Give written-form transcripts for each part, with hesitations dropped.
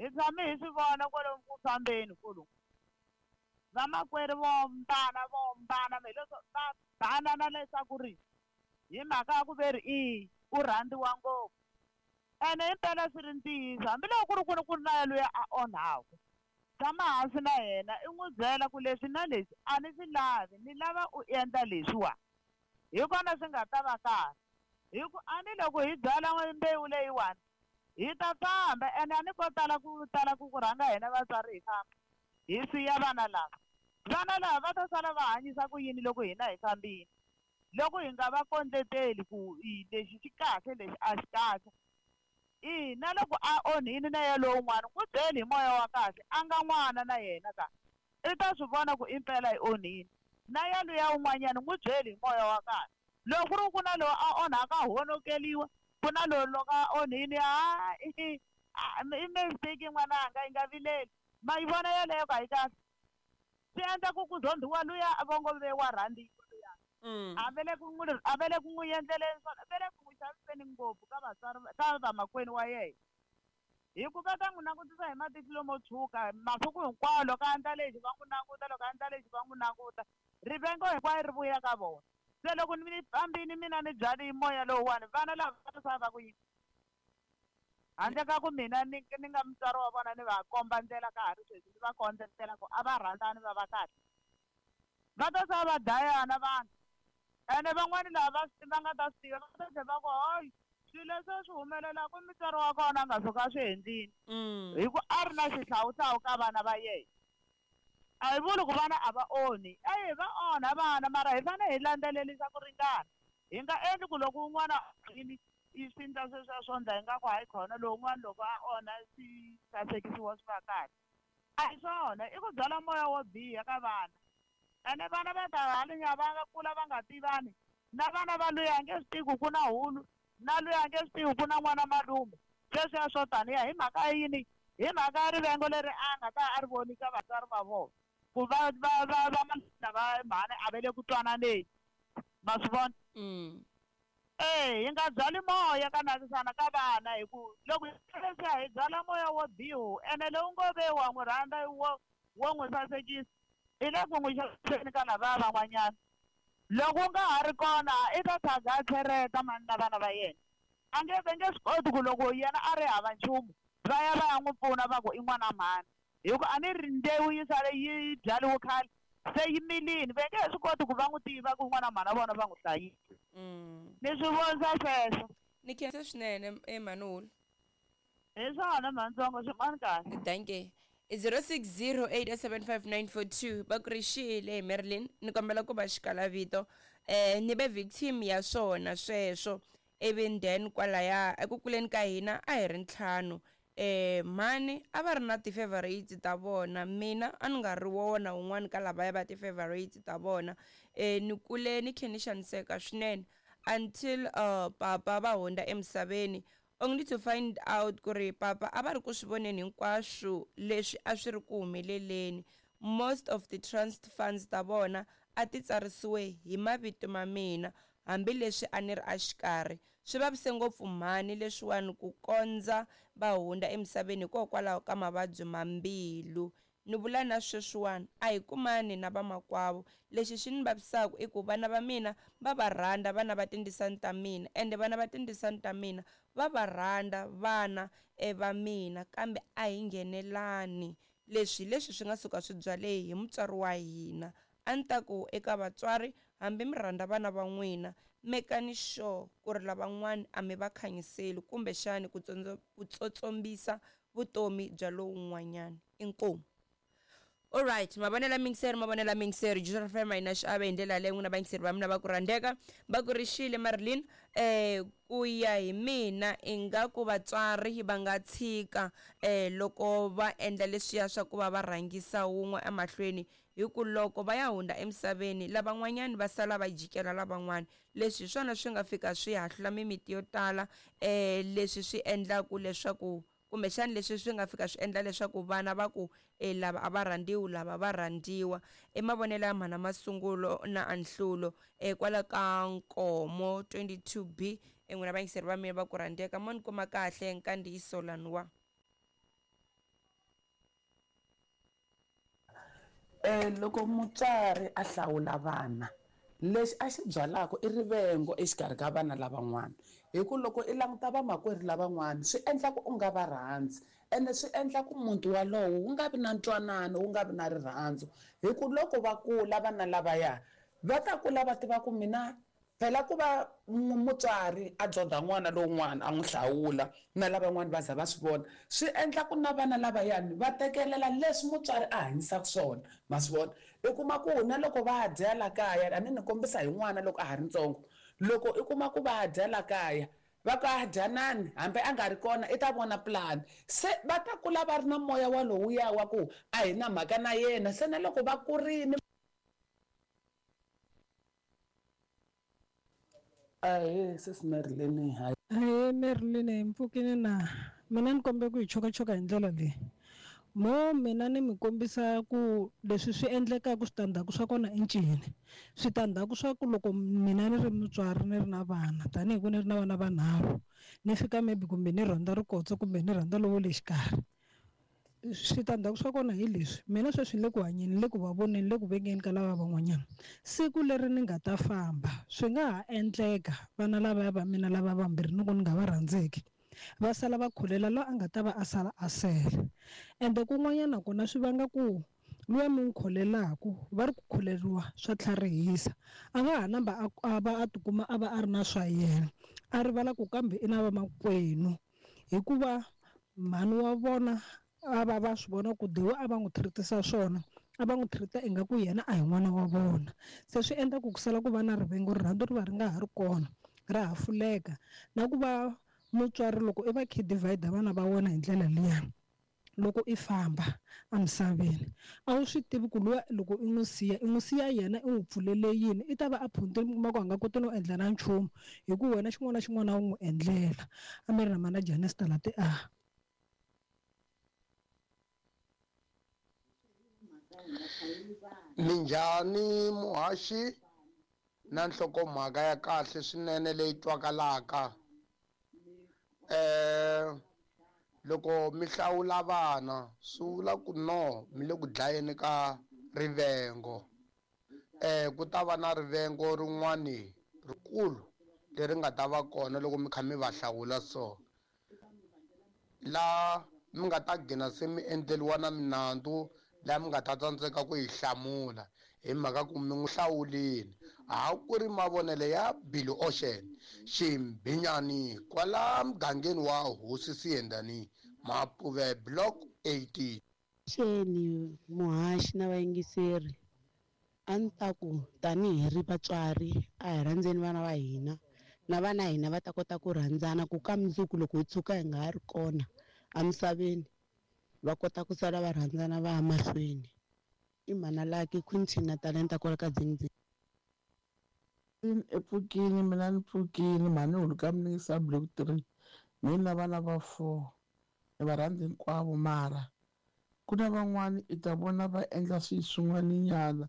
Hi tshame hi swi vona kwalomu ku fambeni kolomu. Vamakwerhu vo hambana vo hambana hi leswo va banana leswaku ri hi mhaka ya ku ve ri i u rhandziwa ngopfu. Ene himpela swi ri ntiyiso hambiloko ku ri ku ri ku ri na yaloye a onhaku tshama hansi na yena i n'wi byela ku leswi na leswi a ni swi lavi ni lava u endla leswiwa hi kona swi nga ta va kahle hi ku a ni loko hi byala mbewu leyiwani hi ta famba ene a ni ko tala ku tala ku ku rhanga hina vatswari hi famba hi siya vana lava vana lava va ta sala va hanyisa ku yini loko hina hi fambile loko hi nga va kondleteli ku i lexi xi kahle lexi a xi kahle i na loko a onhini na ye lowun'wana n'wi byeli hi moya wa kahle a nga n'wana na yena ka i ta swi vona ku impela i onhini na yaluya un'wanyana n'wi byeli hi moya wa kahle loko ku ri ku na lowu a onhaka a honokeliwa ku na lowu loko a onhini ha i mistake n'wananga yi nga vileli ma yi vona yeleyo ka yi kahle swi endla ku ku zondhiwa luya vongo ve wa rhandziwa luya a ve le ku n'wi a ve le ku n'wi endleleni swona ve le ku n'wi xaviseni ngopfu ka vatswari ka vamakwenu wa yena hi ku va ta n'wi langutisa hi matihlo mo tshuka masiku hinkwawo loko a endla lexi va n'wi languta loko a endla lexi va n'wi languta rivengo hinkwayo ri vuya ka vona se loko ni fambini mina ni byali moya lowuwani vana lava va ta sala va ku yini handle ka ku mina ni ni nga mutswari wa vona ni va komba ndlela ka ha ri sweswi ni va kondletela ku a va rhandzani va va kahle va ta sala va dlayana vanhu ene van'wani lava va va nga ta swi tiva va ta tlhela va ku hayi swilo leswi swi humelelaka mutswari wa kona a nga suka a swi endlini hi ku a ri na xihlawuhlawu ka vana va yena a hi vuli ku vana a va onhi eyi va onha vana mara hi fanele hi landzelerisa ku ringana hi nga endli ku loko un'wana yini i swi endla sweswiya swo ndla ingaku hayi khona lowun'wana loko a onha swi sasekisiwa swi va kahle a hi swona i ku byala moya wo biha ka vana ene vana va ta hanya va nga kula va nga tivani na vana va luya a nge swi tivi ku ku na hulu na luya a nge swi tivi ku na n'wana malume sweswiya swo taniya hi mhaka yini hi mhaka ya rivengo leri a nga ta a ri voni ka vatswari va vona ku va va va va va mhani a va le ku twananeni ma swi vona E hi nga byali moya ka navisana ka vana hi ku loko hi leswiya hi byala moya wo biha ene lowu ngo ve wa n'wi rhandza wo wo n'wi sasekisa i le ku n'wi xaviseni ka lavaya van'wanyana loko u nga ha ri kona i ta tshanga a tlhereta mani na vana va yena a nge ve nge swi koti ku loko yena a ri hava nchumu va ya va ya n'wi pfuna va ku i n'wana mhani hi ku a ni ri mbewu yi sale yi byariwe khale se yi milini ve nge he swi koti ku va n'wi tiva ku n'wana mhana vona va n'wi hlayisa ni swi vonisa sweswo Ni khensa swinene Emmanuel. Hi swona mhantsongo swin'wana kahle. Dankie. 06087594 va ku ri xile Marilyn ni kombela ku va xikala vito eh ni ve victim ya swona sweswo ivi then kwalaya eku kuleni ka hina a hi ri ntlhanu Eh mhani a va ri na ti-favourites ta vona mina a ni nga ri wona wun'wani ka lavaya va ti-favourites ta vona ni kule ni khe ni xaniseka swinene until papa va hundza emisaveni only to find out ku ri papa a va ri ku swi voneni hinkwaswo leswi a swi ri ku humeleleni most of the trust funds ta vona a ti tsarisiwe hi mavito ma mina hambileswi a ni ri exikarhi Swi vavise ngopfu mhani leswiwani ku kondza va hundza emisaveni hikokwalaho ka mavabyi ma mbilu. Ni vula na sweswiwani, a hi kumani na vamakwavo. Lexi xi ni vavisaka i ku vana va mina va va rhandza vana va tindzisani ta mina ende vana va tindzisani ta mina va va rhandza vana va mina kambe a hi nghenelani. Leswi hi leswi swi nga suka swi byale hi mutswari wa hina. A ni ta ku eka vatswari, hambi mi rhandza vana va n'wina, mekani sure ku ri lavan'wana a mi va khanyiseli kumbexani ku ku tsotsombisa vutomi bya lowun'wanyana. Inkomu. Alright, mavonelo ya miyingiseri, mavonelo ya miyingiseri, Juice FM a yi na xiave hi ndlela yaleyo n'wina vayingiseri va mina va ku rhandzeka. Va ku ri xile Marilyn, eh ku ya hi mina ingaku vatswari va nga tshika eh loko va endla leswiya swa ku va va rhangisa wun'we emahlweni Hi ku loko va ya hundza emisaveni, lavan'wanyana va sala va jikela lavan'wana. Leswi hi swona swi nga fika swi hahlula mimiti yo tala, e, leswi swi endlaku leswaku, kumbexana leswi swi nga fika swi endla leswaku vana va ku, E, lava a va rhandziwi, lava va rhandziwa. I mavonelo ya mhana Masungulo na Anhlulo, e, kwala ka Nkomo 22B. E, n'wina vayingiseri va mina va ku rhandzeka, mo ni kuma kahle nkandziyiso laniwa. Loko mutswari a hlawula vana lexi a xi byalaka i rivengo exikarhi ka vana lavan'wana hi ku loko i languta vamakwerhu lavan'wana swi endla ku u nga va rhandzi ene swi endla ku muti walowo wu nga vi na ntwanano wu nga vi na rirhandzu hi ku loko va kula vana lavaya va ta kula va tiva ku mina phela ku va mutswari a dzonda n'wana lowun'wana a n'wi hlawula na lavan'wana va za va swi vona swi endla ku na vana lavayani va tekelela leswi mutswari a hanyisaka swona ma swi vona i kuma ku na loko va dya la kaya a ni ni kombisa hi n'wana loko a ha ri ntsongo loko i kuma ku va dya la kaya va ku a dyanani hambi a nga ri kona i ta vona pulani se va ta kula va ri na moya walowuya wa ku a hi na mhaka na yena se na loko va kurini. Ahee sesi Marilyn hi. Ahee Marilyn hi mpfukini na mina ni kombela ku hi chokachoka hi ndlela leyi mo mina ni mi kombisa ku leswi swi endlekaka switandzhaku swa kona i ncini switandzhaku swa ku loko mina ni ri mutswari ni ri na vana tanihi ku ni ri na vana vanharhu ni fika maybe kumbe ni rhandza rikotso kumbe ni rhandza lowo le xikarhi switandzhaku swa kona hi leswi mina sweswi ni le ku hanyeni ni le ku va voneni ni le ku vengeni ka lava van'wanyana siku leri ni nga ta famba swi nga ha endleka vana lavaya va mina lava vambirhi ni ku ni nga va rhandzeki va sala va khulela loyi a nga ta va a sala a sele ende kun'wanyana kona swi vanga ku luya mi n'wi kholelaku va ri ku kholeriwa swa tlharihisa a nga ha namba a va a tikuma a va a ri na swa yena a rivala ku kambe i na vamakwenu hikuva mhani wa vona a va va swi vona ku dewe a va n'wi treat-isa swona a va n'wi treat-a ingaku yena a hi n'wana wa vona se swi endla ku ku sala ku va na rivengo rirhandzu ri va ri nga ha ri kona ra hafuleka na ku va mutswari loko i va khe divide vana va wena hi ndlela liya loko i famba emisaveni a wu swi tivi ku luya loko i n'wi siya i n'wi siya yena i n'wi pfulele yini i ta va a phuntile mi kuma ku a nga koti no endla na nchumu hi ku wena xin'wana na xin'wana a wu n'wi endlela a mi ri na mana Janesta la ti a. Minjhani muhaxi na nhlokomhaka ya kahle swinene leyi twakalaka loko mi hlawula vana swi vula ku no mi le ku dlayeni ka rivengo ku ta va na rivengo rin'wani rikulu leri nga ta va kona loko mi kha mi va hlawula so la mi nga ta gina se mi endleriwa na minandzu laha mi nga ta tsandzeka ku yi hlamula hi mhaka ku mi n'wi hlawulile a ku ri mavonelo ya Billy Ocean Ximbinyani kwala mugangeni wa Hosi Siyendani Mapuve Block 18. Xeni muhaxi na vayingiseri a ni ta ku tanihi ri vatswari a hi rhandzeni vana va hina na vana hina va ta kota ku rhandzana ku ka mundzuku loko hi tshuka hi nga ha ri kona emisaveni va kota ku sala va rhandzana va ya mahlweni i mhana Lucky Quinton na Talenta kwala ka Dzingdzing. I pfukile mina ni pfukile mhani huluka minisa block 3 mina vana va 4 ni va rhandza hinkwavo mara ku na van'wani i ta vona va endla swilo swin'waninyana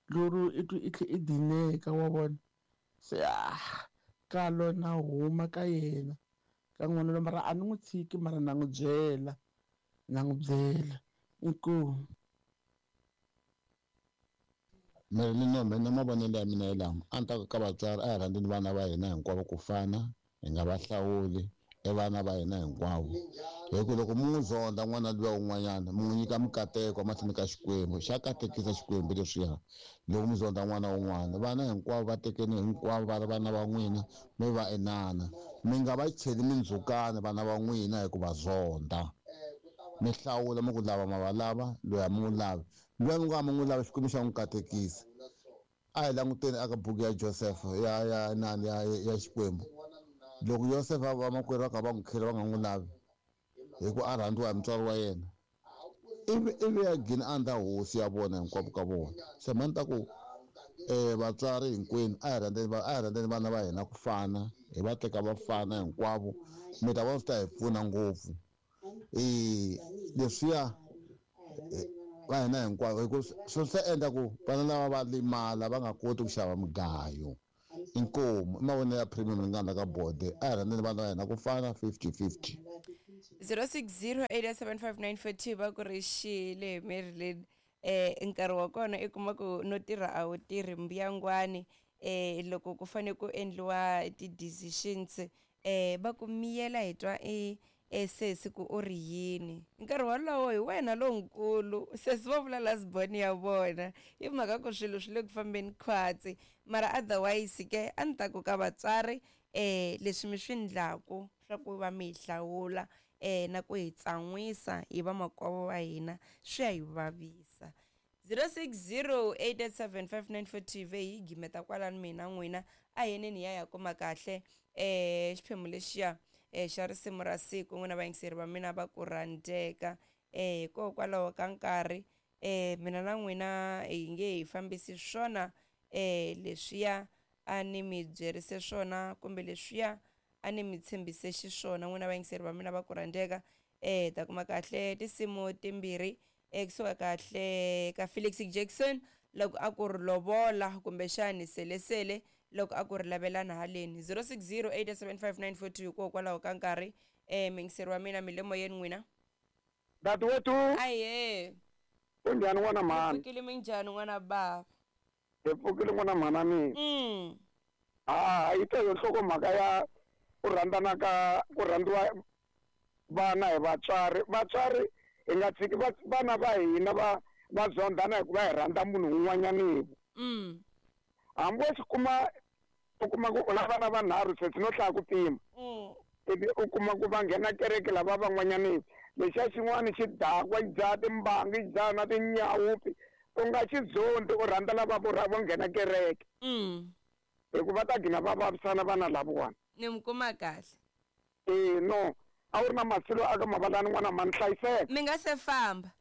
lero i twi i tlhe i dineka wa vona se kalo na huma ka yena ka n'wana loyi mara a ni n'wi tshiki mara na n'wi byela inkomu. Marilyn mina mavonelo ya mina hi lama a ni ta ku ka vatswari a hi rhandzeni vana va hina hinkwavo ku fana hi nga va hlawuli i vana va hina hinkwavo hi ku loko mi n'wi zonda n'wana luya un'wanyana mi n'wi nyika mikateko emahlweni ka Xikwembu xa katekisa Xikwembu leswiya loko mi zonda n'wana un'wana vana hinkwavo va tekeni hinkwavo va ri vana va n'wina mi va inana mi nga va cheli mindzhukano vana va n'wina hi ku va zonda mi hlawula mi ku lava ma va lava loyi a mi n'wi lavi luya mi nga mi n'wi lavi Xikwembu xa n'wi katekisa a hi languteni aka buku ya Joseph ya ya nani ya ya Xikwembu loko Joseph a vamakwerhu va kha va n'wi khela va nga n'wi lavi hi ku a rhandziwa hi mutswari wa yena ivi ya gina a ndla hosi ya vona hinkwavo ka vona se mhani ta ku vatswari hinkwenu a hi rhandzeni vana va hina ku fana hi va teka va fana hinkwavo mi ta vona swi ta hi pfuna ngopfu leswiya va hina hinkwavo hi ku swi ta endla ku vana lava va limala va nga koti ku xava mugayo inkomu i mavonelo ya premium ni nga ndla ka bode a hi rhandzeni vana va hina ku fana 50-50. 06087594 va ku ri xile Marilyn. Nkarhi wa kona i kuma ku no tirha a wu tirhi mbuyangwani, loko ku fane ku endliwa ti-decisions, va ku miyela hi twa i sesi ku u ri yini. Nkarhi wolowo hi wena lonkulu, sesi va vula last born ya vona, hi mhaka ku swilo swi le ku fambeni khwatsi. Mara otherwise ke a ni ta ku ka vatswari, leswi mi swi ndlaku swa ku va mi hi hlawula, na ku hi tsan'wisa hi vamakwavo va hina, swi ya hi vavisa. 0608875942 ve hi gimeta kwalani mina n'wina a heneni hi ya kuma kahle xiphemu lexiya xa risimu ra siku. N'wina vayingiseri va mina va ku rhandzeka, hikokwalaho ka nkarhi, mina na n'wina hi nge hi fambisi swona leswiya a ni mi byerise swona kumbe leswiya a ni mi tshembise xiswona. N'wina vayingiseri va mina va ku rhandzeka, ta kuma kahle tinsimu timbirhi, kusuka kahle ka Felix Jackson loko a ku ri lovola, kumbexani selesele loko a ku ri lavelana haleni. 06087594 hikokwalaho ka nkarhi, muyingiseri wa mina, mi le moyeni n'wina. Dadewethu. Aye. Kunjhani n'wana mhani? Pfukile, minjhani n'wana baba? Hi pfukile n'wana mhana mina. A yi ta yo nhlokomhaka ya ku rhandzana ka ku rhandziwa vana hi vatswari. Vatswari hi nga tshiki vana va hina va zondhana hikuva hi rhandza munhu un'wanyana. Hambi wo xi kuma u kuma ku u na vana vanharhu sesi no hlaya ku pima. Ivi u kuma ku va nghena kereke lava van'wanyana, lexiya xin'wana xi dakwa, xi dzaha timbangi, xi dzaha na tinyawupi, u nga xi zondi u rhandza lava vo nghena kereke. Hikuva ta gina va vavisana vana lavawani. Ni mi kuma kahle. No, a wu ri na masilo aka mavalani n'wana mhani, hlayiseka. Mi nga se famba.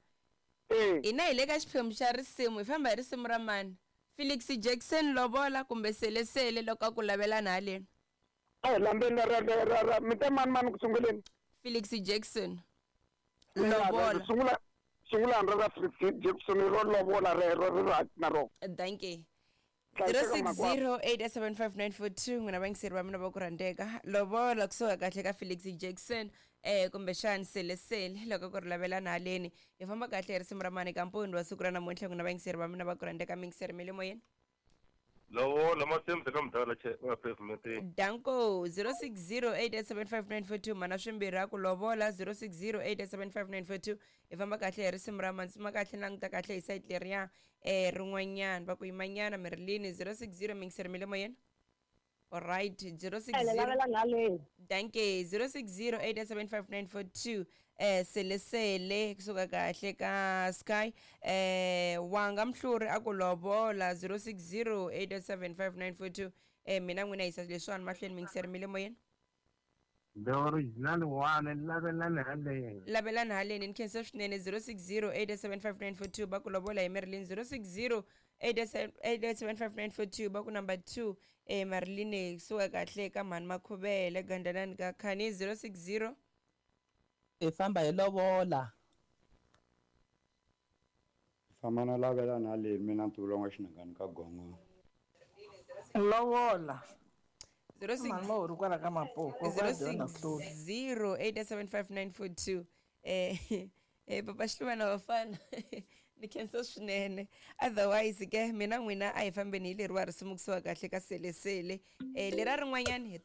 Hina hi le ka xiphemu xa risimu, hi famba hi risimu ra mani? Felix Jackson lovola kumbe selesele loko a ku lavelana haleni? A hi lambeni ra mi te mani mani ku sunguleni? Felix Jackson. Lovola. Sungulani ra Felix Jackson ro lovola rero ri right na rona. Thank you. 06087594 n'wina vayingiseri va mina va ku rhandzeka, lovola kusuka kahle ka Felix Jackson, kumbexani selesele loko ku ri lavelana haleni. Hi famba kahle hi risimu ra mani ka mpundzu wa siku ra namuntlha. N'wina vayingiseri va mina va ku rhandzeka, miyingiseri mi le moyeni. Lovola masembe ka mudala va pavement. Danko. 06087594 mana swimbirhi a ku lovola. 06087594 hi famba kahle hi risimu ra mani. Tsuma kahle, languta kahle hi sayiti leriya rin'wanyana va ku yimanyana mirilini. 060 miyingiseri mi le moyeni. Alright, 060. Danke. 06087594 selesele kusuka kahle ka Sky, wanga mhluri a ku lovola. 06087594. Mina n'wina yisa leswiwani mahlweni, miyingiseri mi le moyeni. The original one, lavelani haleni. Lavelani haleni, ni khensa swinene. 06087594 va ku lovola hi Marilyn. 06087594 va ku number 2, Marilyn kusuka kahle ka mhani Makhuvele gandalani ka khani. 060. Hi famba hi lovola. Famba na lavelani haleni, mina ntivulonga xinangani ka gongo. Lovola. 06087594. Papa Xiluva vafana, ni khensa swinene. Otherwise ke mina n'wina a hi fambeni hi leriwa risimu kusuka kahle ka selesele, lera rin'wanyani hi